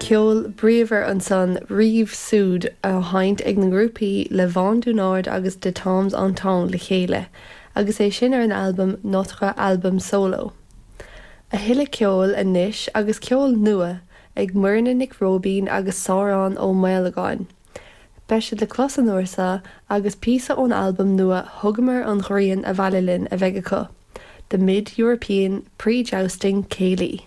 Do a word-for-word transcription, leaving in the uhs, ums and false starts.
Ceol bríomhar ansan Rive-Sud á sheinnt ag na grúpaí Le Vent du Nord agus De Temps en Temps le chéile, agus é sin ar an albam Notre Album Solo. A thuilleadh ceoil anois agus ceol nua ag Muirne Nic Róibín agus Sárán Ó Maolagáin. Beidh siad le clos an uair seo agus píosa ón albam nua Thugamar an Ghrian Abhaile Linn a bheidh acu, The Mid-European Pre-Jousting Céilí.